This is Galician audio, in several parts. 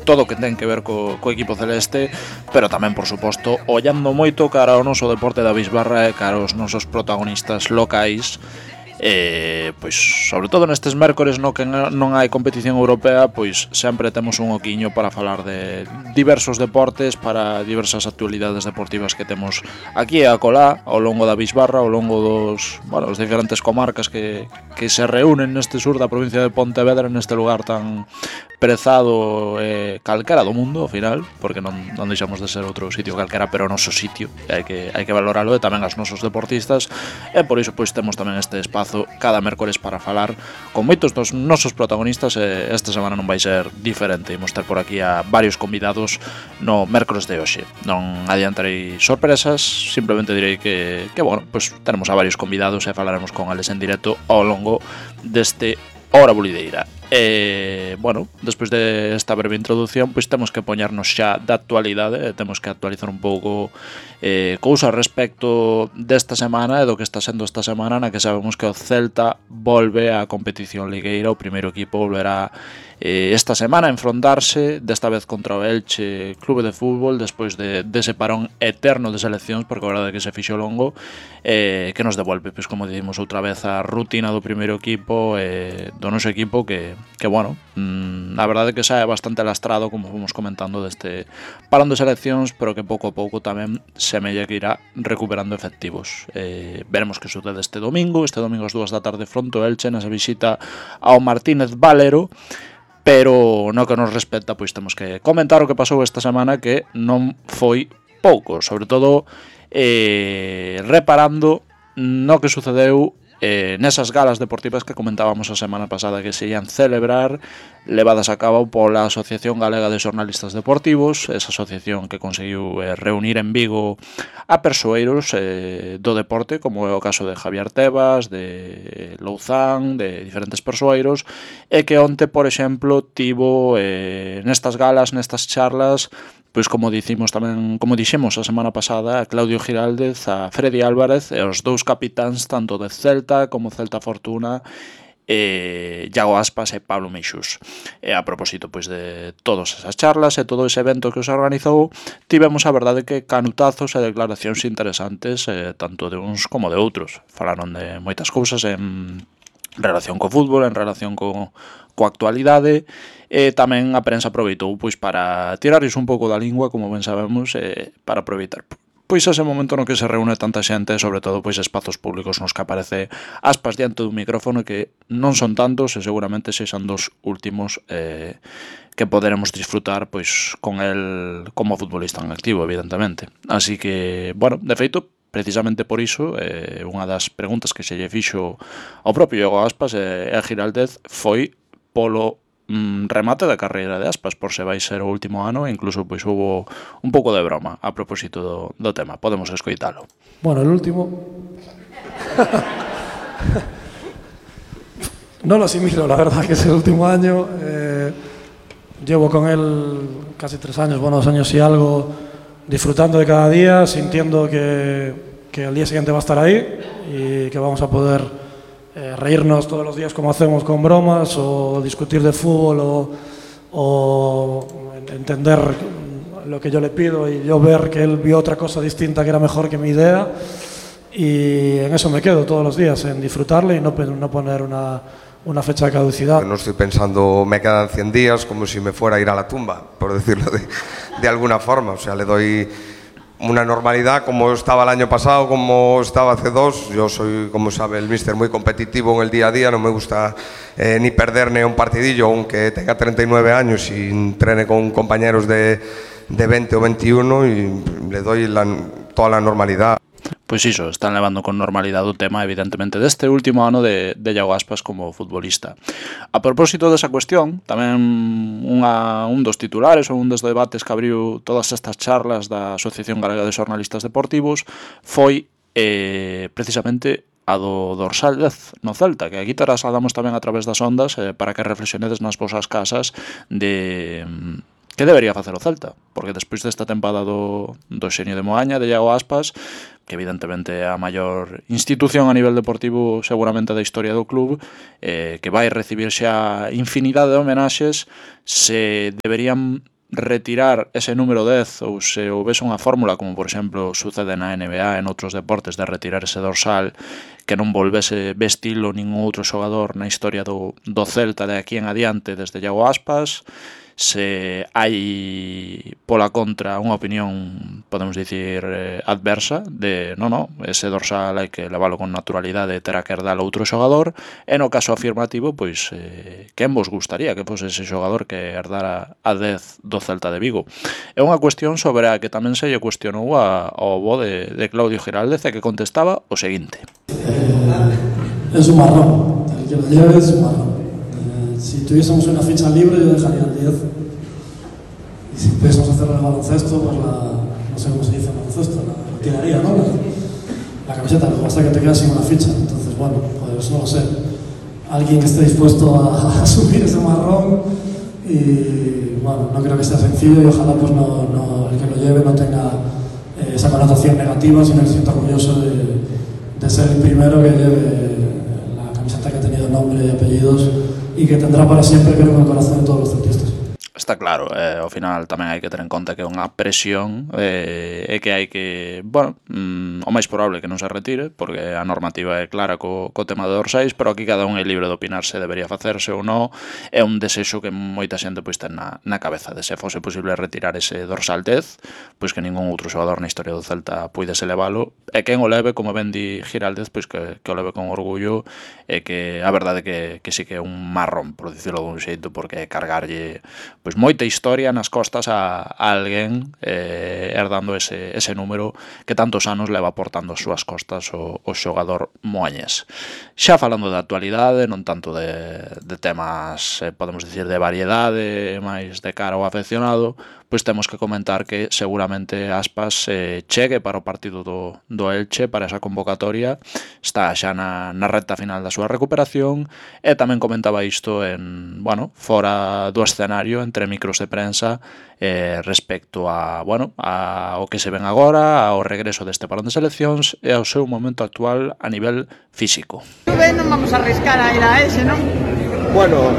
todo o que ten que ver co equipo celeste, pero tamén, por suposto, ollando moito cara ao noso deporte da bisbarra e cara aos nosos protagonistas locais. Pois sobre todo nestes mércores no que non hai competición europea, pois sempre temos un oquiño para falar de diversos deportes, para diversas actualidades deportivas que temos aquí e acolá ao longo da bisbarra, ao longo dos diferentes comarcas que se reúnen neste sur da provincia de Pontevedra, neste lugar tan prezado calquera do mundo, ao final, porque non deixamos de ser outro sitio calquera, pero o noso sitio, hai que valoralo, e tamén as nosos deportistas, e por iso pois temos tamén este espazo cada mércores para falar con moitos dos nosos protagonistas, e esta semana non vai ser diferente. Imos ter por aquí a varios convidados no mércores de hoxe. Non adiantarei sorpresas, simplemente direi que bueno, pois tenemos a varios convidados e falaremos con eles en directo ao longo deste Hora Bulideira. Bueno, despois de esta breve introducción, pois temos que poñernos xa da actualidade, temos que actualizar un pouco cousas respecto desta semana e do que está sendo esta semana, na que sabemos que o Celta volve á competición ligueira. O primeiro equipo volverá esta semana a enfrontarse, desta vez contra o Elche Clube de Fútbol, despois dese parón eterno de seleccións, porque a verdade é que se fixo longo, que nos devolve, pois como dicimos outra vez, a rutina do primeiro equipo, do noso equipo, que bueno, a verdade é que xa é bastante lastrado, como fomos comentando, deste parón de seleccións, pero que pouco a pouco tamén semella que irá recuperando efectivos. Veremos que sucede este domingo ás 2 da tarde fronte ao Elche, nesa visita ao Martínez Valero. Pero no que nos respecta, pois temos que comentar o que pasou esta semana, que non foi pouco, sobre todo reparando no que sucedeu nesas galas deportivas que comentábamos a semana pasada, que se ian celebrar, levadas a cabo pola Asociación Galega de Xornalistas Deportivos, esa asociación que conseguiu reunir en Vigo a persoeiros do deporte, como é o caso de Javier Tebas, de Louzán, de diferentes persoeiros, e que onte, por exemplo, tivo nestas galas, nestas charlas, pois como dicimos tamén, como dixemos a semana pasada, a Claudio Giraldez, a Freddy Álvarez e os dous capitáns tanto de Celta como Celta Fortuna, Iago Aspas e Pablo Meixús. E a propósito pois de todas esas charlas e todo ese evento que os organizou, tivemos a verdade que canutazos e declaracións interesantes, tanto de uns como de outros. Falaron de moitas cousas en relación co fútbol, en relación coa actualidade, e tamén a prensa aproveitou pois para tirarles un pouco da lingua, como ben sabemos, para aproveitar pois ese momento no que se reúne tanta xente, sobre todo pois espazos públicos nos que aparece Aspas diante dun micrófono, que non son tantos e seguramente sexan dos últimos que poderemos disfrutar pois con el como futbolista en activo, evidentemente. Así que, bueno, de feito, precisamente por iso, unha das preguntas que se lle fixo ao propio Iago Aspas e a Giraldez foi polo remate da carreira de Aspas, por se vai ser o último ano, e incluso pois hubo un pouco de broma a propósito do tema. Podemos escoitalo. Bueno, el último no lo asimilo, la verdad, que es el último año. Llevo con él casi 3 años, bueno, 2 años y algo, disfrutando de cada día, sintiendo que el día siguiente va a estar ahí y que vamos a poder reírnos todos los días como hacemos con bromas, o discutir de fútbol, o entender lo que yo le pido y yo ver que él vio otra cosa distinta que era mejor que mi idea, y en eso me quedo todos los días, en disfrutarle y no poner una fecha de caducidad. No estoy pensando me quedan 100 días como si me fuera a ir a la tumba, por decirlo de alguna forma. O sea, le doy una normalidad como estaba el año pasado, como estaba hace 2. Yo soy, como sabe el míster, muy competitivo en el día a día. No me gusta ni perder ni un partidillo, aunque tenga 39 años y entrene con compañeros de 20 o 21, y le doy toda la normalidad. Pois iso, están levando con normalidade o tema, evidentemente, deste último ano de Iago Aspas como futbolista. A propósito desa cuestión, tamén un dos titulares ou un dos debates que abriu todas estas charlas da Asociación Galega de Xornalistas Deportivos foi precisamente a do dorsal 10 no Celta, que aquí te trasladamos tamén a través das ondas para que reflexionedes nas vosas casas de que debería facer o Celta, porque despois desta tempada do xenio de Moaña, de Iago Aspas, que evidentemente é a maior institución a nivel deportivo seguramente da historia do club, que vai recibir xa infinidade de homenaxes, se deberían retirar ese número 10 ou se houvese unha fórmula, como por exemplo sucede na NBA en outros deportes, de retirar ese dorsal, que non volvese vestilo ningún outro xogador na historia do Celta de aquí en adiante desde Iago Aspas. Se hai pola contra unha opinión, podemos dicir, adversa de ese dorsal hai que leválo con naturalidade e terá que herdar outro xogador, e no caso afirmativo, pois quen vos gustaría que fose ese xogador que herdara a 10 do Celta de Vigo? É unha cuestión sobre a que tamén se lle cuestionou ao bo de Claudio Giraldez, e que contestaba o seguinte: Es un marrón, el que lo lleve es un marrón. Si tuviésemos una ficha libre, yo dejaría el 10. Y si pudiésemos hacerlo en el baloncesto, pues no sé cómo se dice en baloncesto, la tiraría, ¿no? La camiseta, lo que basta que te quedas sin una ficha. Entonces, bueno, pues no lo sé. Alguien que esté dispuesto a asumir ese marrón, y bueno, no creo que sea sencillo, y ojalá pues el que lo lleve no tenga esa connotación negativa, sino que se sienta orgulloso de ser el primero que lleve la camiseta que ha tenido nombre y apellidos, y que tendrá para siempre, creo, en el corazón de todos los celtistas. Está claro, ao final tamén hai que ter en conta que é unha presión e que hai que, o máis probable que non se retire, porque a normativa é clara co tema de dorsais, pero aquí cada un é libre de opinar se debería facerse ou non. É un desexo que moita xente pois ten na cabeza, de se fose posible retirar ese dorsal 10, pois que ningún outro xogador na historia do Celta puidese levalo, e quen o leve, como ben di Giraldez, pois que o leve con orgullo, e que a verdade que sí que é un marrón, por dicirlo dun xeito, porque cargarlle pois moita historia nas costas a alguén herdando ese número que tantos anos leva portando as súas costas o xogador moañés. Xa falando da actualidade, non tanto de temas, podemos dicir, de variedade, máis de cara ao afeccionado, pois temos que comentar que seguramente Aspas chegue para o partido do Elche, para esa convocatoria. Está xa na recta final da súa recuperación, e tamén comentaba isto fora do escenario, entre micros de prensa, respecto ao que se ven agora, ao regreso deste parón de seleccións e ao seu momento actual a nivel físico. Non vamos a arriscar a ir a ese, non? Bueno,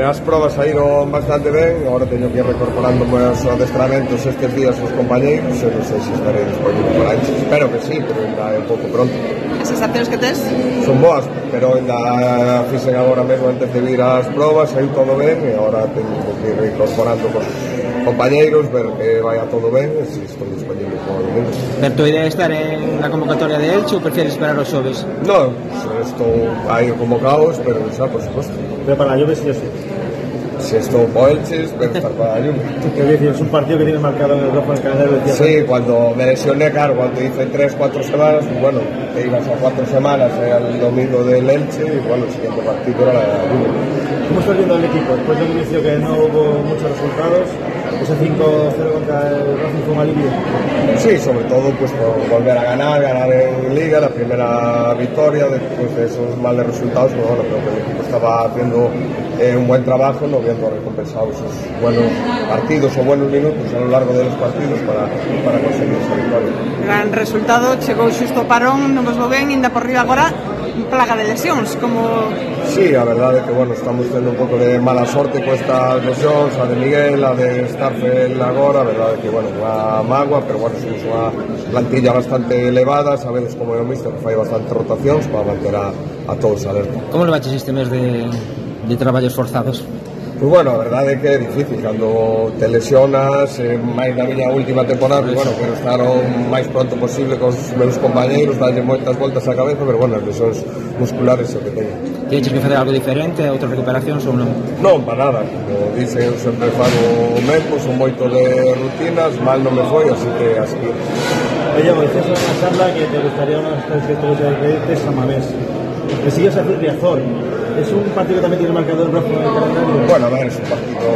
as probas saíron bastante ben, agora teño que ir recorporando os adestramentos estes días os compañeiros, e non sei se estarei disponible para isso. Espero que sí, pero ainda é un pouco pronto. As sensacións que tes? Son boas, pero ainda fixen agora mesmo antes de vir ás probas, saiu todo ben, e agora teño que ir incorporando cos compañeiros, ver que vaya todo ben, e se estou disponible para o domingo. Pero tu idea é estar en la convocatoria de Elche ou prefieres esperar os xoves? Non, estou aí convocados, pero xa, por suposto. Pero para la Juve sí o sí. Si estou para Elche, espero estar para la Juve. ¿Qué decir? Es un partido que tienes marcado en el rojo en el calendario. Sí, cuando me lesioné, claro, cuando hice 3-4 semanas, pues bueno, te ibas a 4 semanas al domingo del Elche, y bueno, el siguiente partido era la Juve. ¿Cómo estás viendo el equipo? Después del inicio que no hubo muchos resultados, ese 5-0 contra el Racing fue un alivio. Sí, sobre todo pues por volver a ganar en Liga, la primera victoria después de esos malos resultados, pues bueno, creo que el equipo estaba haciendo un buen trabajo, no viendo recompensado esos buenos partidos o buenos minutos a lo largo de los partidos para conseguir esa victoria. Gran resultado, chegou xusto o parón, non vos vou ben, ainda por riba agora, plaga de lesións, como... Sí, a verdade é que, bueno, estamos tendo un pouco de mala sorte con estas lesións, a de Miguel, a de Starfel agora, a verdade é que, bueno, unha mágoa, pero, bueno, somos unha plantilla bastante elevada, sabedes como é o míster, fai bastantes rotacións para manter a todos alerta. Como le baches este mes de traballos forzados? Pues bueno, a verdade é que é difícil cando te lesionas, máis na miña última temporada, pues bueno, quero estar o máis pronto posible con os meus compañeiros, darlle moitas voltas á cabeza, pero bueno, as lesións musculares é o que teño. Tienes que facer algo diferente, outras recuperacións ou non? Non, para nada, como dicen, eu sempre fago o mesmo, son moito de rutinas, mal non me foi, así que así. Oye, decías en una charla que te gustaría unos 3 de Samamés. Que sigues a hacer Riazor. ¿Es un partido que también tiene marcador rojo en el calendario? Bueno, a ver, es un partido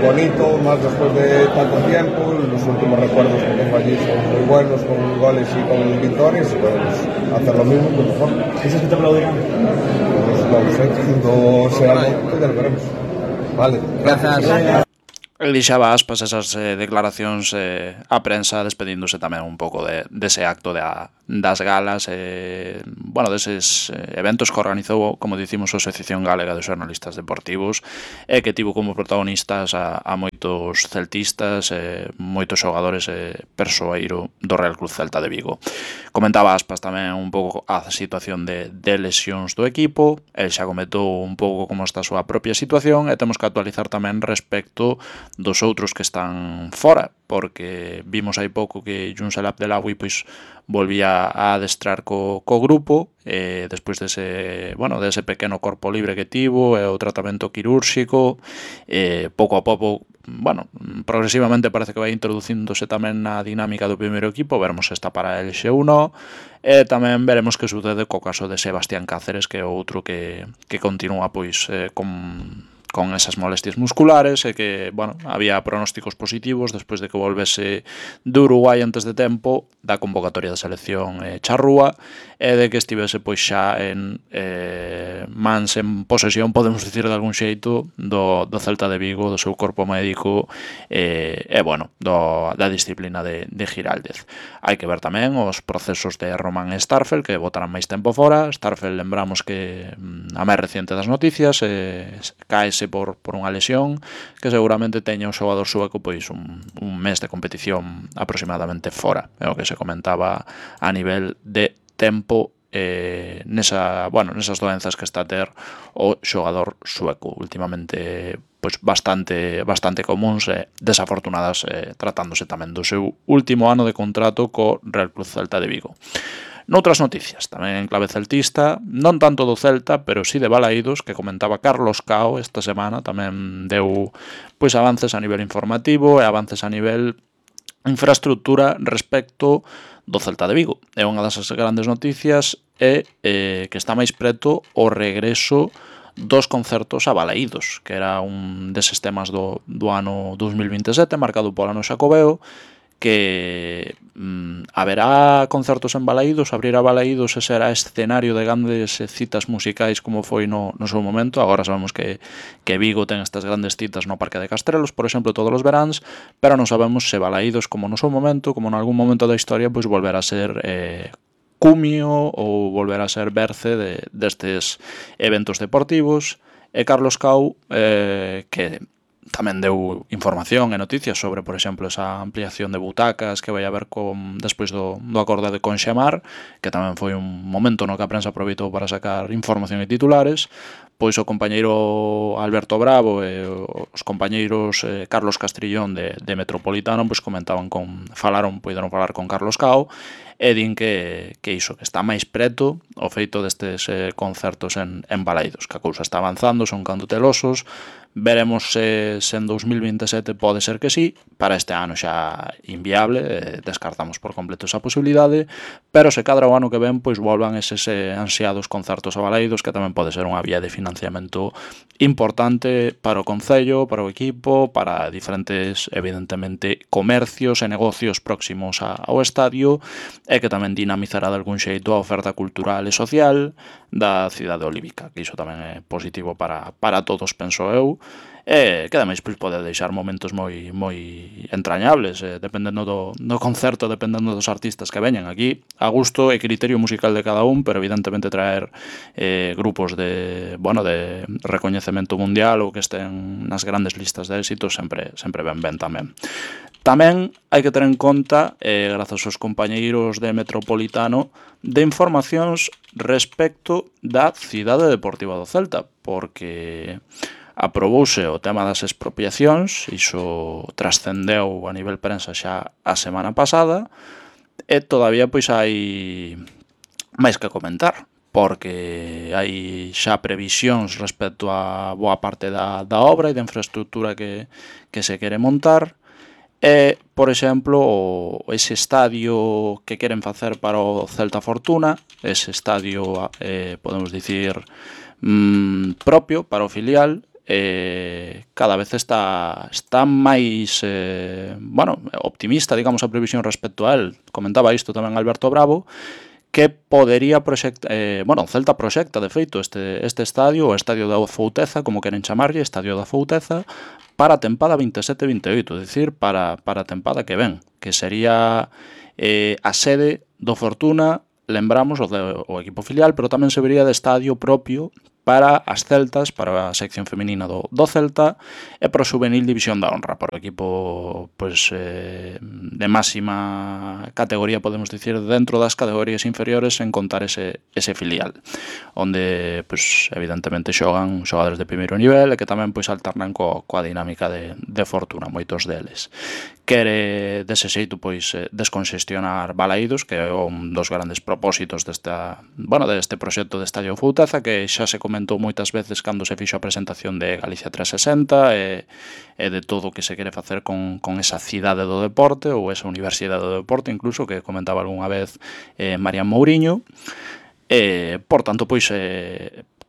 bonito, más después de tanto tiempo. Los últimos recuerdos que tengo allí son muy buenos, con goles y con victorias. Y podemos hacer lo mismo, pues mejor. ¿Dices que te aplaudirán? Pues no lo sé, cuando sea algo, ya lo veremos. Vale. Gracias. Elixaba Aspas esas declaracións a prensa despedíndose tamén un pouco dese acto das galas, bueno, deses eventos que organizou, como dicimos, a Asociación Galega de Xornalistas Deportivos, e que tivo como protagonistas a moitos celtistas, moitos xogadores persoeiro do Real Club Celta de Vigo. Comentaba Aspas tamén un pouco a situación de lesións do equipo, el xa comentou un pouco como está a súa propia situación, e temos que actualizar tamén respecto dos outros que están fora, porque vimos hai pouco que Younes El Abdellaoui pois volvía a adestrar co grupo despois dese pequeno corpo libre que tivo e o tratamento quirúrxico, pouco a pouco, progresivamente parece que vai introducíndose tamén na dinámica do primeiro equipo, veremos se está para el X1, e tamén veremos que sucede co caso de Sebastián Cáceres, que é outro que continúa pois con esas molestias musculares, e que, había pronósticos positivos despois de que volvese de Uruguai antes de tempo da convocatoria da selección charrúa, e de que estivese pois xa en mans, en posesión, podemos dicir de algún xeito, do Celta de Vigo, do seu corpo médico da disciplina de Giraldez. Hai que ver tamén os procesos de Román Starfel, que botarán máis tempo fora. Starfel, lembramos que a máis reciente das noticias, caese por unha lesión que seguramente teña o xogador sueco pois un mes de competición aproximadamente fora, é o que se comentaba a nivel de tempo nesas doenzas que está a ter o xogador sueco últimamente, pois bastante comuns e desafortunadas, tratándose tamén do seu último ano de contrato co Real Club Celta de Vigo. Noutras noticias, tamén en clave celtista, non tanto do Celta, pero sí de Balaídos, que comentaba Carlos Cao esta semana, tamén deu pois avances a nivel informativo e avances a nivel infraestructura respecto do Celta de Vigo. É unha das grandes noticias que está máis preto o regreso dos concertos a Balaídos, que era un deses temas do ano 2027, marcado polo ano Xacobeo, que haberá concertos en Balaídos, abrirá Balaídos e será escenario de grandes citas musicais como foi no seu momento. Agora sabemos que Vigo ten estas grandes citas no Parque de Castrelos, por exemplo, todos os veráns, pero non sabemos se Balaídos, como no seu momento, como en algún momento da historia, pois volverá a ser cumio ou volverá a ser berce destes eventos deportivos. E Carlos Cao, que tamén deu información e noticias sobre, por exemplo, esa ampliación de butacas que vai haber despois do acordo de Conxemar, que tamén foi un momento no que a prensa aproveitou para sacar información e titulares. Pois o compañeiro Alberto Bravo e os compañeiros Carlos Castrillón de Metropolitano pois puideron falar con Carlos Cao, e din que iso, que está máis preto o feito destes concertos en Balaídos, que a cousa está avanzando, son candotelosos. Veremos se en 2027 pode ser que sí, para este ano xa inviable, descartamos por completo esa posibilidade, pero se cadra o ano que ven, pois volvan eses ansiados concertos a Balaídos, que tamén pode ser unha vía de financiamento importante para o concello, para o equipo, para diferentes, evidentemente, comercios e negocios próximos ao estadio, e que tamén dinamizará de algún xeito a oferta cultural e social da cidade olívica, que iso tamén é positivo para todos, penso eu, e que ademais pode deixar momentos moi entrañables, dependendo do concerto, dependendo dos artistas que veñan aquí, a gusto e criterio musical de cada un, pero evidentemente traer grupos de recoñecemento mundial ou que estén nas grandes listas de éxitos sempre ben tamén. Tamén hai que ter en conta, grazas aos compañeiros de Metropolitano, de informacións respecto da cidade deportiva do Celta, porque aprobouse o tema das expropiacións, iso trascendeu a nivel prensa xa a semana pasada, e todavía pois hai máis que comentar, porque hai xa previsións respecto a boa parte da obra e da infraestructura que se quere montar. E, por exemplo, ese estadio que queren facer para o Celta Fortuna, ese estadio, podemos dicir, propio para o filial, cada vez está máis optimista, digamos, a previsión respecto a él. Comentaba isto tamén Alberto Bravo, que podería proxectar, o Celta proxecta, de feito, este estadio, o Estadio da Fouteza, como queren chamarlle, Estadio da Fouteza, para a tempada 27-28, é dicir, para a tempada que ven, que sería a sede do Fortuna, lembramos, o equipo filial, pero tamén se vería de estadio propio para as Celtas, para a sección femenina do Celta e para o Juvenil División da Honra, para o equipo de máxima categoría, podemos dicir, dentro das categorías inferiores, en contar ese filial, onde evidentemente xogan xogadores de primeiro nivel e que tamén alternan coa dinámica de Fortuna, moitos deles. Quere dese xeito desconxestionar Balaídos, que é un dos grandes propósitos deste proxecto de Estadio Fouteza, que xa se comentou moitas veces cando se fixo a presentación de Galicia 360 e de todo o que se quere facer con esa cidade do deporte ou esa universidade do deporte, incluso, que comentaba algunha vez Marian Mouriño. Por tanto,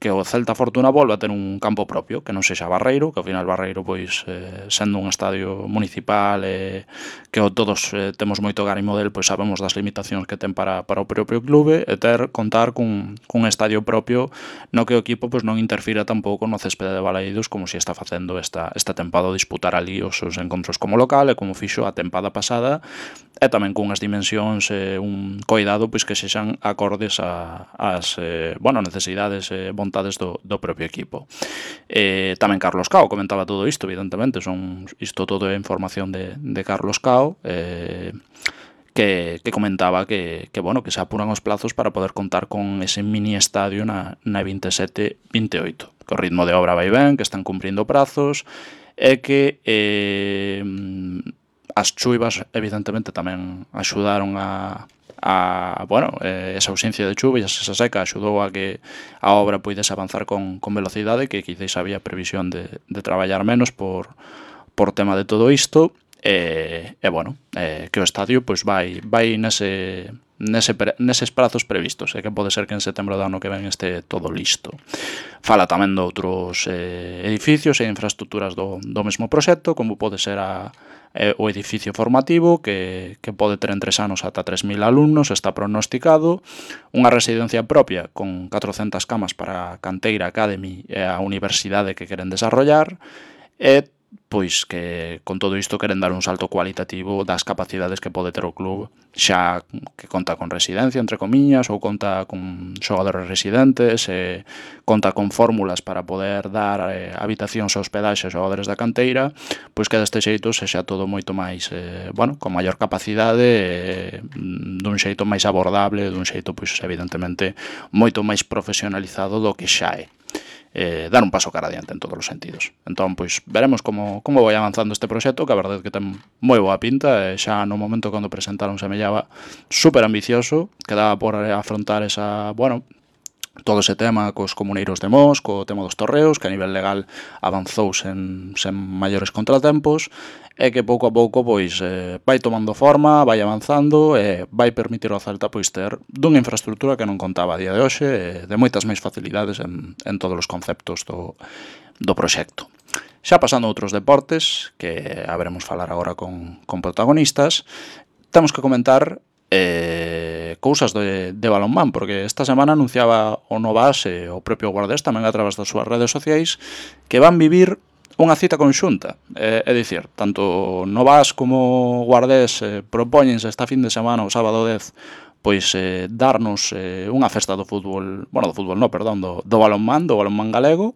que o Celta Fortuna volva a ter un campo propio, que non sexa Barreiro, que ao final Barreiro, sendo un estadio municipal que todos temos moito gárimo del, sabemos das limitacións que ten para o propio clube, e contar cun estadio propio no que o equipo non interfira tampouco no céspede de Balaídos, como se está facendo esta tempada, o disputar ali os seus encontros como local, e como fixo a tempada pasada, e tamén cunhas dimensións, un coidado que sexan acordes ás necesidades vontades do propio equipo. Tamén Carlos Cao comentaba todo isto, evidentemente, isto todo é información de Carlos Cao, que comentaba que se apuran os plazos para poder contar con ese mini estadio na 27-28, que o ritmo de obra vai ben, que están cumprindo prazos, e que as chuivas evidentemente tamén axudaron esa ausencia de chuva e esa seca axudou a que a obra poidese avanzar con velocidade, que quizás había previsión de traballar menos por tema de todo isto, que o estadio vai neses prazos previstos, e que pode ser que en setembro do ano que ven este todo listo. Fala tamén de outros edificios e infraestructuras do mesmo proxecto, como pode ser o edificio formativo, que pode ter en 3 anos ata 3.000 alumnos, está pronosticado, unha residencia propia con 400 camas para a Canteira Academy e a universidade que queren desarrollar, e que con todo isto queren dar un salto cualitativo das capacidades que pode ter o club, xa que conta con residencia, entre comiñas, ou conta con xogadores residentes, conta con fórmulas para poder dar habitacións e hospedaxe a xogadores da canteira, que deste xeito sexa todo moito máis, con maior capacidade, dun xeito máis abordable, dun xeito, evidentemente, moito máis profesionalizado do que xa é. Dar un paso cara adiante en todos os sentidos. Entón, veremos como vai avanzando este proxecto, que a verdade é que ten moi boa pinta, e xa no momento cando presentaron semellaba super ambicioso, que daba por afrontar todo ese tema cos comuneiros de Mos, co tema dos torreos, que a nivel legal avanzou sen maiores contratempos, e que pouco a pouco vai tomando forma, vai avanzando e vai permitir ao Celta ter dunha infraestructura que non contaba a día de hoxe, de moitas máis facilidades en todos os conceptos do proxecto. Xa pasando a outros deportes, que haberemos falar agora con protagonistas, temos que comentar cousas de balonmán, porque esta semana anunciaba o Novas e o propio Guardés tamén a través das súas redes sociais que van vivir unha cita conxunta, é dicir, tanto Novas como Guardés propóñense esta fin de semana, o sábado 10, darnos unha festa do fútbol, do balonmán galego,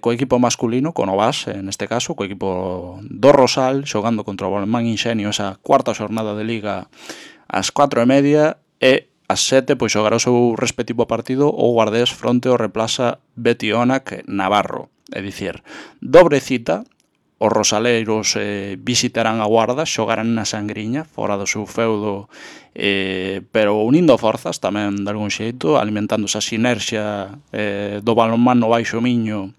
co equipo masculino, co Novas, neste caso, co equipo do Rosal, xogando contra o Balonmán Inxenio esa cuarta xornada de Liga ás 4:30, e ás 7 xogará o seu respectivo partido o Guardés fronte ao Replaza Betionac Navarro. É dicir, dobre cita, os rosaleiros visitarán a Guarda, xogarán na Sangriña, fora do seu feudo, pero unindo forzas tamén de algún xeito, alimentando esa sinerxia do balonmán no Baixo Miño,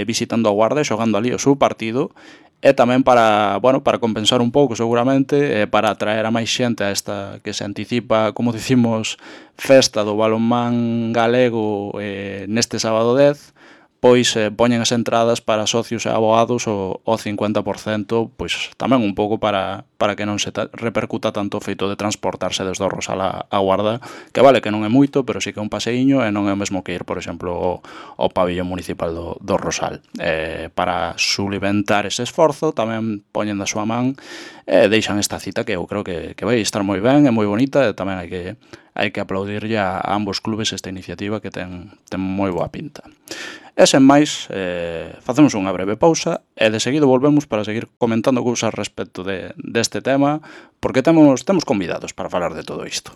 visitando a Guarda e xogando ali o seu partido, e tamén para compensar un pouco seguramente, para atraer a máis xente a esta que se anticipa, como dicimos, festa do balonmán galego neste sábado 10, poñen as entradas para socios e abogados o 50%, tamén un pouco para para que non se repercuta tanto o feito de transportarse desde o Rosal a Guarda, que vale que non é moito, pero sí que é un paseiño e non é o mesmo que ir, por exemplo, ao pabillón municipal do Rosal. Para sulimentar ese esforzo, tamén poñen da súa man e deixan esta cita que eu creo que vai estar moi ben, é moi bonita e tamén hai que aplaudirlle a ambos clubes esta iniciativa que ten moi boa pinta. E sen máis, facemos unha breve pausa e de seguido volvemos para seguir comentando cousas respecto deste tema, porque temos convidados para falar de todo isto.